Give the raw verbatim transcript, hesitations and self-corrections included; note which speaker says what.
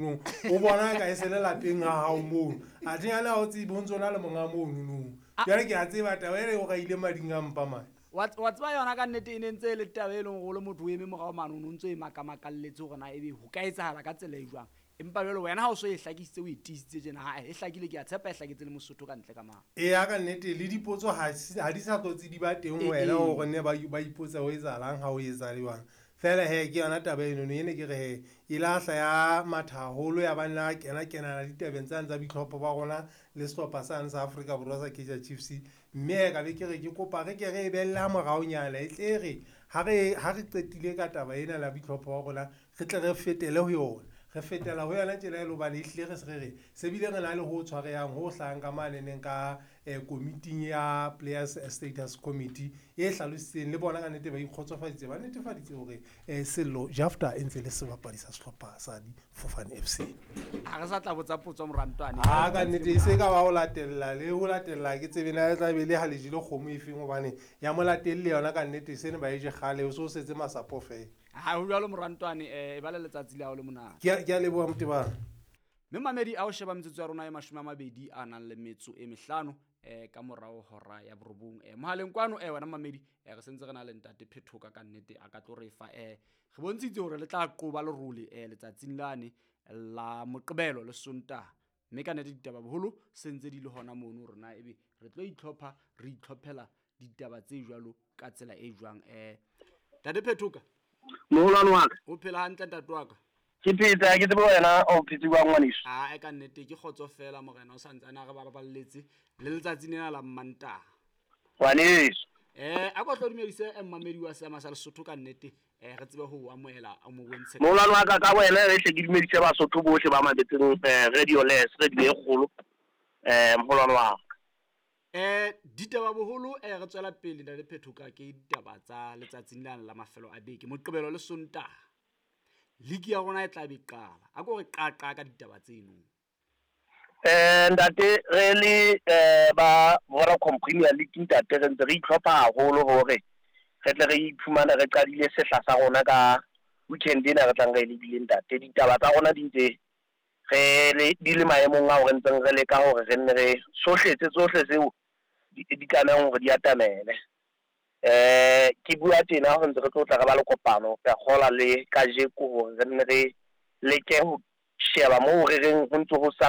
Speaker 1: O bona ka e se le lapeng ha hao mono. Athe yane ha o tsebe ho ntso na le monga mono no. Jwale ke a tseba taba ena e o raile mading a mpa mane.
Speaker 2: Wa wa tseba yona ka nnete e ne ntse e le taba e leng hore o le motho o eme morao mane o no ntso e makamakalletse hore na ebe ho ka etsahala ka tsela e jwang. Empa jwale wena ha o so e hlakisitse o e tiisitse tjena, ha e hlakile, ke a tshepa e hlaketse le Mosotho ka ntle ka mane.
Speaker 1: Eya ka nnete le dipotso ha ha di sa hlotse di ba teng ho wena hore ne ba ba ipotsa ho etsahalang ha o etsa jwang. Feela hee ke yona taba enono ene ke re hee e la hla ya matha haholo ya ba nna kena kenana ditabeng tsane tsa boitlhopho ba rona le sehlopha sane sa Afrika Borwa sa Kaizer Chiefs. Mme hee ka be ke re ke kopa re ke re e behelle ha moraonyana e tle re ha re ha re qetile ka taba ena la boitlhopho ba rona re tle re fetele ho yona. Re fetela ho yona tjena e le hobane ehlile re se re re se bile re na le ho tshwarehang ho hlahang ka maneneng ka komiting ya Players Status Committee e hlalositseng le bona ka nnete ba ikgotsofaditse ba netefaditse hore Sello Jafta e ntse le sebapadi sa sehlopha sa Difofane F C.
Speaker 2: Ha re sa tla botsa potso morantwane.
Speaker 1: Ha ka nnete e se ka ba ho latella le ho latella ke tsebe na e tla be le ha le jele kgomo efeng hobane ya molatelle yona ka nnete sene ba e je kgale o so setse masapo feela.
Speaker 2: Ha ho jwalo morantwane eh e ba le letsatsi la hao le monate.
Speaker 1: Ke ke a leboha Motebang.
Speaker 2: Mme mamedi a o sheba metsotso ya rona e mashome a mabedi a nang le metso e mehlano eh ka morao hora ya borobong. Eh mohaleng kwano eh wena mamedi eh re sentse re na le ntate Phethoka ka nnete a ka tlo re fa eh re bontshitse hore le tla qoba lerole eh letsatsing lane la Moqebelo le Sontaha. Mme ka nnete ditaba boholo sentse di le hona mono hore na ebe re tlo itlhopha re itlhophela ditaba tse jwalo ka tsela e jwang. Eh ntate Phethoka,
Speaker 3: moholwane wa ka,
Speaker 2: o phela hantle ntate wa ka?
Speaker 3: Ke phetse, ke tsebe wena o phetse jwang ngwaneso?
Speaker 2: Ah, e ka nnete ke kgotso fela morena o santsane a re ba baballetse le letsatsi lena la Mantaha.
Speaker 3: Ngwaneso.
Speaker 2: Eh a ko tlo dumedise mmamedi wa seama sa Lesotho ka nnete eh re tsebe ho amohela o mo bontshe.
Speaker 3: Moholwane wa ka ka wena re hle ke dumedise Basotho bohle ba mametseng Radio Les, radio e kgolo. Eh moholwane wa ka.
Speaker 2: Eh ditaba boholo eh re tswela pele ntate Phethoka ke ditaba tsa letsatsing lena la mafelo a beke Moqebelo le Sontaha. Ligi ya rona e tla be qala. A ko re qaqa ka ditaba tseno.
Speaker 3: Eh ntate re le eh ba Vodacom Premier League ntate re ntse re itlhopha haholo hore re tle re iphumane re qadile sehla sa rona ka weekend ena re tlang re lebile ntate. Ditaba tsa rona di ntse re le di le maemong a hore ntseng re leka hore re nne re sohletse tsohle tseo di tlamehang hore di atamele. Eh ke bua tjena ho ntse re tlo tla re ba le kopano ka kgola le kajeko hore re nne re leke ho sheba moo re reng ho ntse ho salletse.